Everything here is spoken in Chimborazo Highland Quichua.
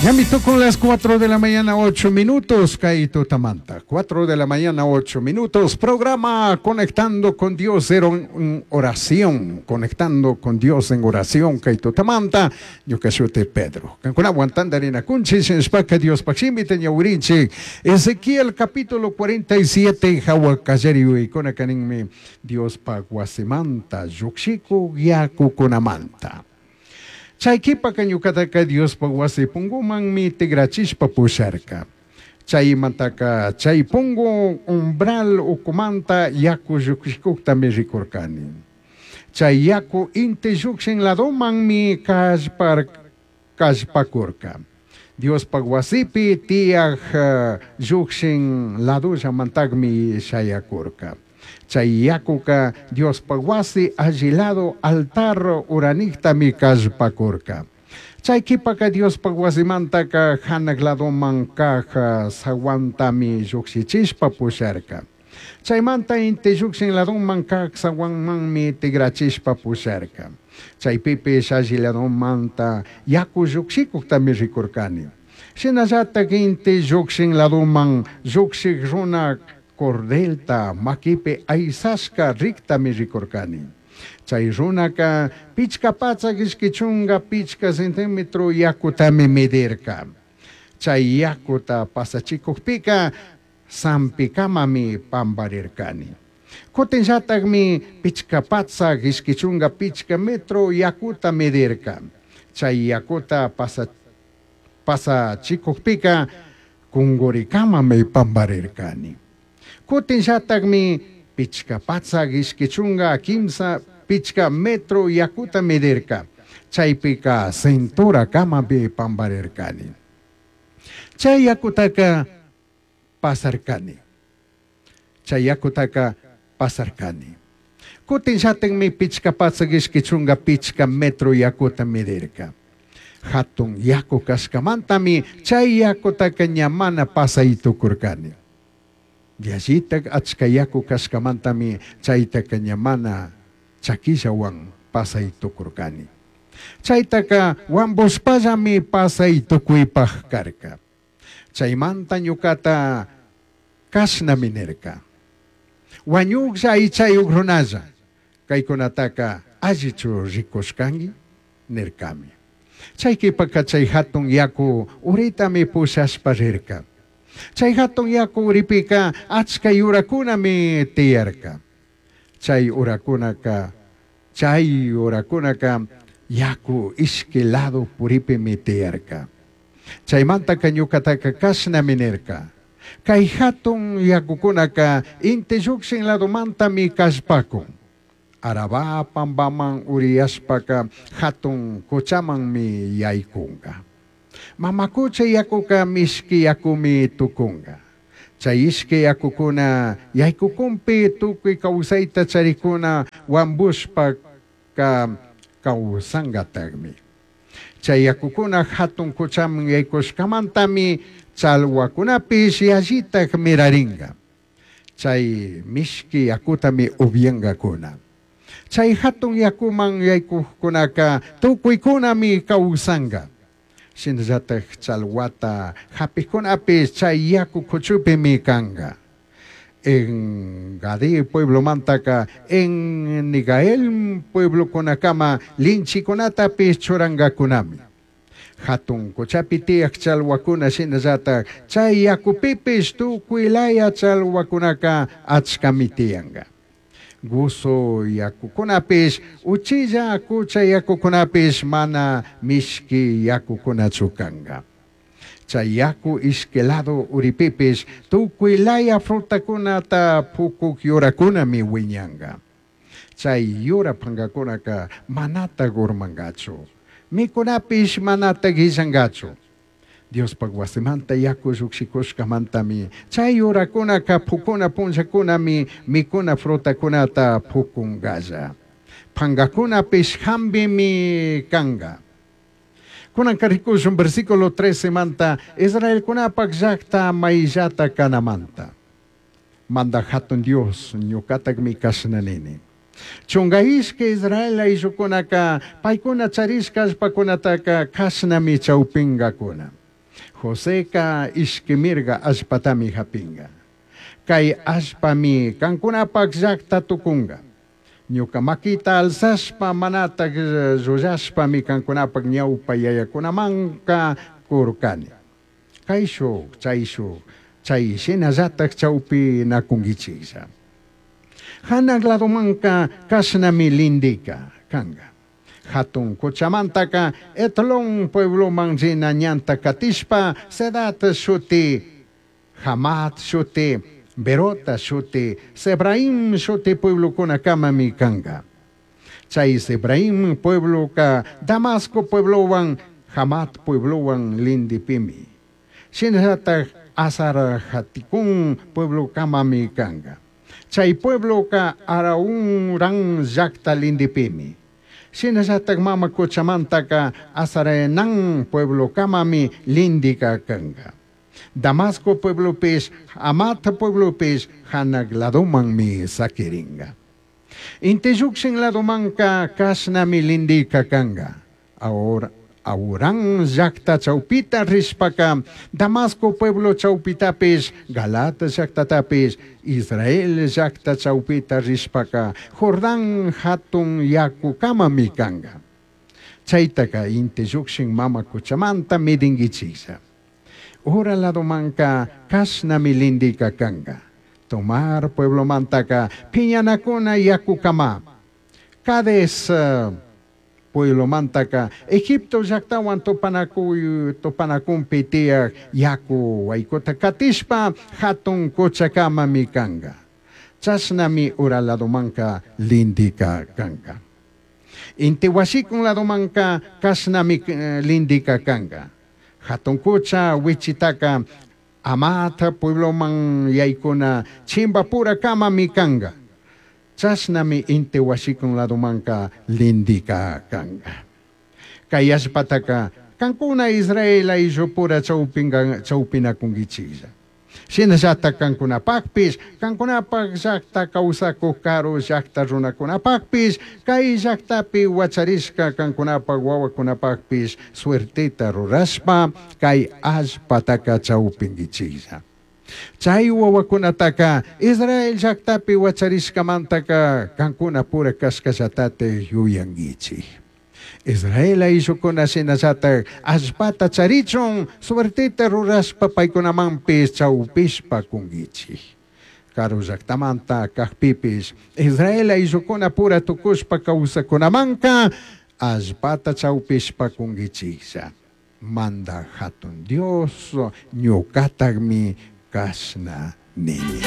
Ñami tukun las 4 de la mañana 8 minutos, kay tutamanta. 4 de la mañana 8 minutos, programa Conectando con Dios en oración. Conectando con Dios en oración, kay tutamanta. Ñuka shuti Pedro. Kankunawan tandarinakunchik, shinashpaka Diospaj shimita ñawirinchik. Ezequiel capítulo 47, hawa kallari yuyaykunaka ninmi Diospaj wasimanta, llukshikuk yakukunamanta. Chai q'uipaca ñucataca Diospaj huasi pungumanmi tigrachishpa pusharca. Chaimantaca chai pungu umbral ucumanta yacu llujshicujtami ricurcani. Chai yacu inti llujshin ladomanmi callpar, callpacurca. Diospaj huasipi tiyaj llujshin ladollamantajmi shayacurca. Chai yacuca Diospaj huasi alli lado altar uranijtami callpacurca. Chai q'uipaca Diospaj huasimantaca janaj ladoman caj zahuantami llujshichishpa pusharca. Chaimanta inti llujshin ladoman caj zahuanmanmi tigrachishpa pusharca. Chaipipish alli ladomanta yacu llujshicujtami ricurcani. Shinallataj inti llujshin ladoman llujshij runa cordelta maquipi aisashca rijtami ricurcani. Chai runaca pichca patsaj ishqui chunga pichca centímetro yacutami medirca. Chai yacuta pasachicujpica sampicamami pambarircani. Cutinllatajmi pichca patsaj ishqui chunga pichca metro yacuta medirca. Chai yacuta pasachicujpica cunguricamami pambarircani. Cutinllatajmi pichca patsaj ishqui chunga quimsa pichca metro yacuta medirca. Chaipica cinturacamami pambarircani. Chai yacutaca pasarcani. Chai yacutaca pasarcani. Cutinllatajmi pichca patsaj ishqui chunga pichca metro yacuta medirca. Jatun yacu cashcamantami chai yacutaca ña mana pasai tucurcani. Yallitaj achca yacu cashcamantami chaitaca ña mana chaquillahuan pasai tucurcani. Chaitaca huambushpallami pasai tucuipaj carca. Chaimanta ñucata cashnami nirca. Huañujlla aichayuj runalla, caicunataca allichu ricushcangui? Nircami. Chai q'uipaca chai jatun yacu uritami pushashpa rirca. Chai jatun yacu uripica achca yuracunami tiyarca. Chai uracunaca, chai uracunaca yacu ishqui lado puripimi tiyarca. Chaimantaca ñucataca cashnami nirca. Cai jatun yacucunaca inti llukshin ladomantami callpacun. Arabá pambaman uriyashpaca jatun cuchamanmi yaicunga. Mama cucha yacuca mishqui yacumi tucunga. Chay ishqui yacucuna yaicucunpi tucui causaita charicuna huambushpaca causangatajmi. Chay yacucuna jatun cuchaman yaicushcamantami chalhuacunapish yallitaj miraringa. Chay mishqui yacutami upiangacuna. Chay jatun yacuman yaicujcunaca tucuicunami causanga. Shinallataj chalhuata japijcunapish chay yacu cuchupimi canga. En Gadí pueblomantaka, en Nigael pueblocunacama linchicunatapish churangacunami. Jatun cuchapi tiyaj chalhuacuna shinallataj chay yacupipish tucui laya chalhuacunaca achcami tiyanga. Guso yacucunapish, uchilla cucha yacucunapish mana mishqui yacucunachu canga. Chay yacu ishqui lado uripipish tucui laya frutacunata pucuj yuracunami huiñanga. Chay yura pangacunaca manataj urmangachu. Micunapish manataj illangachu. Diospaj huasimanta yacu llujshikushcamantami chay yuracunaca pucuna punllacunami micuna frutacunata pucungalla. Pangacunapish jambimi canga. Kunanka rikushun versículo 13 manta Israelcunapaj llajta maillata canamanta. Manda jatun Dios ñucatajmi cashna nini. Chunga ishqui Israel ayllucunaca paicuna charishca allpacunataca cashnami chaupingacuna. Joseca ishqui mirga allpatami japinga. Cai allpami cancunapaj llajta tucunga. Ñuca maquita alzashpa manataj llullashpami cancunapaj ñaupa yayacunamanca curcani. Caishuj chaishuj chai shinallataj chaupinacunguichijlla. Janaj ladomanca cashnami lindica canga. Jatun cuchamantaca Hetlón puebloman rina ñanta catishpa Zedad shuti, Hamat shuti, Berota shuti, Sebraim shuti pueblocunacamami canga. Chai Sebraim puebloca Damasco pueblohuan Hamat pueblohuan lindipimi. Shinallataj Hazar Haticún pueblocamami canga. Chai puebloca Hauran llajta lindipimi. Shinallataj mama cuchamantaca Hazarenán pueblocamami lindica canga. Damasco pueblopish, Hamat pueblopish janaj ladomanmi saquiringa. Inti llujshin ladomanca cashnami lindica canga. Ahora Haurán llajta chaupita rishpaca Damasco pueblo chaupitapish, Galaad llajtatapish, Israel llajta chaupita rishpaca Jordán jatun yacucamami canga. Chaitaca inti llujshin mama cuchamanta midinguichijlla. Ura ladomanca cashnami lindica canga. Tomar pueblomantaca piñanacuna yacucama. Cades pueblomantaca Egipto llajtahuan tupanacunpi tiyaj yacu huaicuta catishpa jatun cuchacamami canga. Chashnami ura ladomanca lindica canga. Inti huashicun ladomanca cashnami lindica canga. Jatun cucha huichitaca Hamat puebloman yaicuna chimbapuracamami canga. Chashnami inti huashicun ladomanca lindica canga. Cai allpataca cancuna Israel aillupura chaupinacunguichijlla. Shinallataj cancunapajpish, cancunapaj llajta causacuj caru llajta runacunapajpish, cai llajtapi huacharishca cancunapaj huahuacunapajpish suerteta rurashpa cai allpataca chaupinguichijlla. Chai huahuacunataca Israel llajtapi huacharishcamantaca cancunapura cashcallatataj yuyanguichij. Israel ayllucuna shinallataj allpata charichun suerteta rurashpa paicunamanpish chaupishpa cunguichij. Caru llajtamanta cajpipish Israel ayllucuna pura tucushpa causacunamanca allpata chaupishpa cunguichijlla. Mandaj jatun Dios ñucatajmi cashna nini.